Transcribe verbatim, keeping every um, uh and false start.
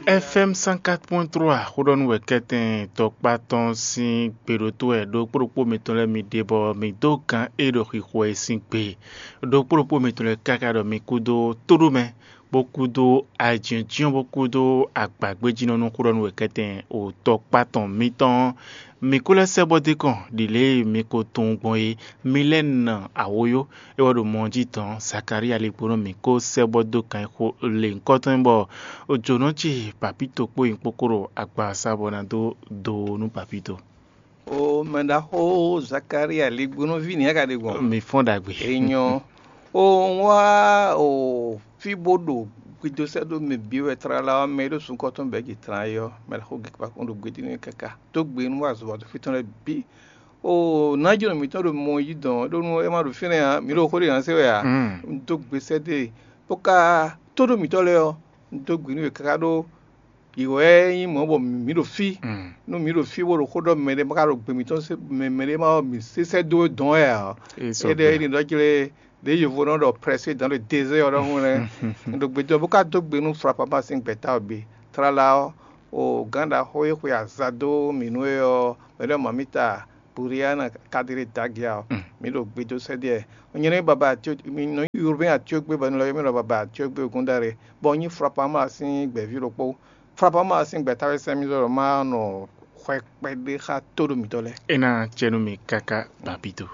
F M cent quatre point trois xó ɖɔ nú wɛ kɛ́tɛn tɔkpá tɔn sín gbe ɖo tó wɛ ɖokpó ɖokpó mitɔn lɛ́ɛ mi ɖe bɔ mi dó gǎn e ɖo xixo wɛ sín gbe. Ɖokpó ɖokpó mitɔn lɛ́ɛ káká ɖɔ mi kúdó tóɖomɛ, bó kúdó ajínjɔ́n, bó kúdó agbǎgbéjínɔ́ nú xó ɖɔ nú wɛ kɛ́tɛn o tɔkpá tɔn mitɔn. Mi kó lɛ́ sɛ́ bɔ dó kɔn ɖi lě e mi ko tunwun gbɔn é. Mi lɛ́ nɔ awǒyó, é wɛ ɖo mɔ jí tɔn. Zakalía ligbónɔ mǐ kó sɛ́ bɔ dó kan xo lě nyǐkɔtɔn bɔ jǒnɔ ce Papito kpó nyǐkpókó ɖo agbaza bɔ ná dó do nú Papito. O mɛ ɖaxó Zakalía ligbónɔví nǐ a ka ɖe gbɔn? Mi fɔ́n ɖagbe. Enyɔ. O wá o fí bó ɖo gbido sɛ́ ɖó mɛ bǐ wɛ tlala ɔ́, mɛ e ɖo sunkɔtɔn bɛ̌ jǐ tlan é ɔ́, mɛ ɖaxó gěgé kpákpɔ́n ɖo gbeɖé nú káká. Dó gbe nú azɔ̌ wa dó fí tɔn lɛ́ɛ bǐ. O nǎjínɔ mǐtɔn ɖo mɔ yí dɔn ɖó nú é má ɖo fínɛ́ ǎ, mǐ ɖo xó ɖé ǎ se wɛ ǎ. Un dó gbe sɛ́ dó e, bó ka tó ɖó mǐtɔn lɛ́ɛ ɔ́, un dó gbe nú yě káká ɖó yě wɛ nyí mɔ̌ bɔ mǐ ɖo fí. Nú mǐ ɖo fí bó ɖo xó ɖɔ mɛɖé ma ka ɖo gbe mǐtɔn se mɛ mɛɖé ma ɔ́, mǐ se sɛ́ dó dɔn wɛ ǎ. Éɖɛ́ é ɖi ɖɔ jlé ɖě yovo nɔ ɖɔ prɛsé dans le désert ɔ́ ɖɔhun lɛ́ɛ. Un ɖo gbe dó bó ka dó gbe nú Flapama sín gbɛ̌ta ɔ́ bǐ. Tlala ɔ́, o gǎn ɖaxó e xwe aza dó mǐ nú é ɔ́, mɛ ɖɔ mamita Buriana Kadiri Dagia ɔ́, mǐ ɖo gbe dó sɛ́ ɖiɛ. Nyɛ nɔ nyí baba atyo, mǐ nɔ nyí Urbain Atyogbé bɔ un lɔ yɔ mì ɖɔ baba Atyogbé Ogúndáre, bɔ un nyí Flapama sín gbɛ̌ví ɖokpó. Flapama sín gbɛ̌táwé sɛ́n mì ɖɔ má nɔ xwɛ kpɛɖé xá tóɖo mǐtɔn lɛ́ɛ. É ná cɛ nú mi káká Papito.